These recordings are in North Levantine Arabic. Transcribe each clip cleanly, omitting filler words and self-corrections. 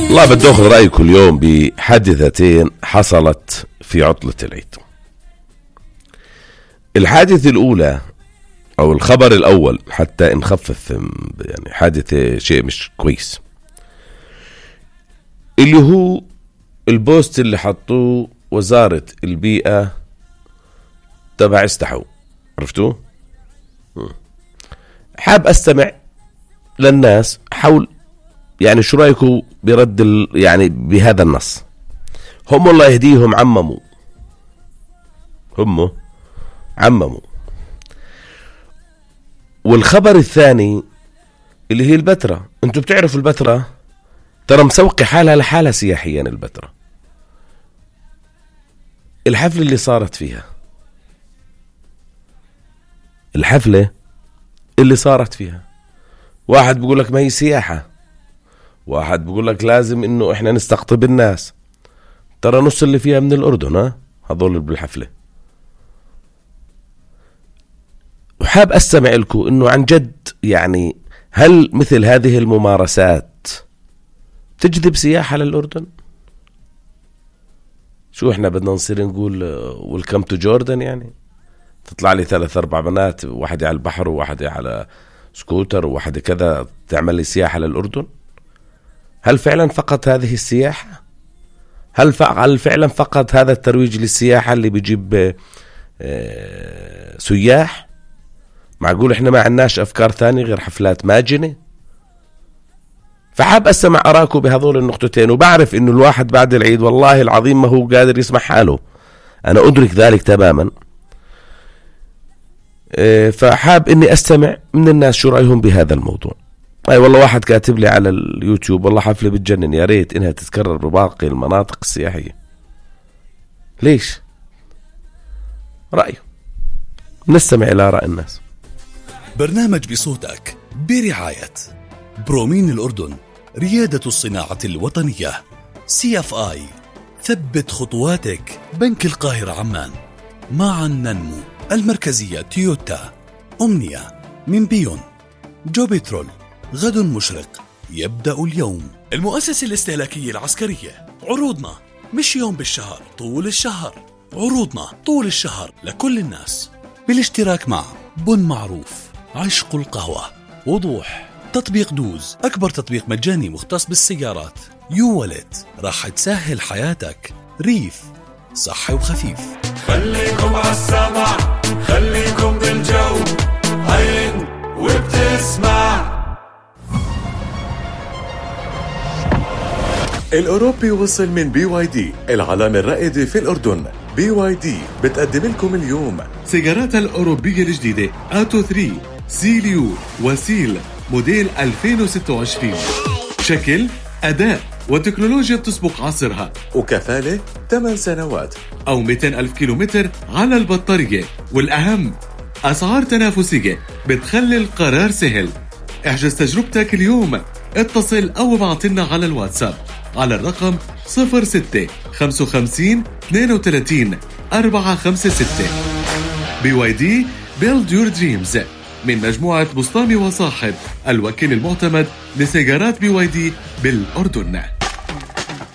والله بدي أخذ رأيكم اليوم بحادثتين حصلت في عطلة العيد. الحادثة الأولى أو الخبر الأول حتى نخفف يعني حادثة شيء مش كويس، اللي هو البوست اللي حطوه وزارة البيئة تبع استحو، عرفتوه؟ حاب أستمع للناس حول يعني شو رأيكم برد يعني بهذا النص. هم الله يهديهم عمموا. والخبر الثاني اللي هي البتراء. انتوا بتعرفوا البتراء ترى مسوقي حالها لحالها سياحيا. البتراء الحفلة اللي صارت فيها واحد بيقول لك ما هي سياحة، واحد بيقول لك لازم انه احنا نستقطب الناس. ترى نص اللي فيها من الأردن، هذول بالحفلة. وحاب أستمع لكم إنه عن جد يعني هل مثل هذه الممارسات تجذب سياحة للأردن؟ شو إحنا بدنا نصير نقول ويلكم تو جوردن؟ يعني تطلع لي 3-4 بنات، واحدة على البحر وواحدة على سكوتر وواحدة كذا، تعمل لي سياحة للأردن؟ هل فعلا فقط هذه السياحة؟ هل فعلا فقط هذا الترويج للسياحة اللي بيجيب سياح؟ معقول احنا ما عندناش افكار ثانية غير حفلات ماجنة؟ فحاب اسمع اراكم بهذول النقطتين. وبعرف انه الواحد بعد العيد والله العظيم ما هو قادر يسمع حاله، انا ادرك ذلك تماما. فحاب اني استمع من الناس شو رايهم بهذا الموضوع. والله واحد كاتب لي على اليوتيوب والله حفلة بتجنن، يا ريت انها تتكرر بباقي المناطق السياحية. ليش؟ رأيه نستمع الى رأي الناس. برنامج بصوتك برعاية برومين الأردن، ريادة الصناعة الوطنية، CFI، ثبت خطواتك، بنك القاهرة عمان، معا ننمو، المركزية تويوتا، أمنية من بيون، جوبيترول، غد مشرق يبدأ اليوم، المؤسسة الاستهلاكية العسكرية. عروضنا مش يوم بالشهر، طول الشهر. عروضنا طول الشهر لكل الناس، بالاشتراك مع بن معروف، عشق القهوة، وضوح، تطبيق دوز، أكبر تطبيق مجاني مختص بالسيارات، يو والت، راح تسهل حياتك، ريف، صحي وخفيف. خليكم عالسمع، خليكم بالجو، عين وبتسمع. الأوروبي وصل من BYD، العلامة الرائدة في الأردن. BYD بتقدم لكم اليوم سيارات الأوروبية الجديدة آتو 3، سيليو وسيل موديل 2026. شكل، أداء وتكنولوجيا بتسبق عصرها، وكفالة 8 سنوات أو 200,000 كيلومتر على البطارية. والأهم أسعار تنافسية بتخلي القرار سهل. احجز تجربتك اليوم، اتصل أو ابعتلنا على الواتساب على الرقم 0655 32 456. BYD Build Your Dreams من مجموعة بسطامي وصاحب، الوكيل المعتمد لسيارات BYD بالأردن.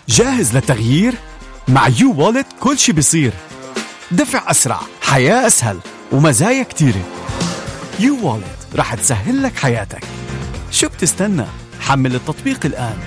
جاهز للتغيير؟ مع يو والت كل شي بيصير. دفع أسرع، حياة أسهل، ومزايا كتيرة. يو والت راح تسهل لك حياتك. شو بتستنى؟ حمل التطبيق الآن.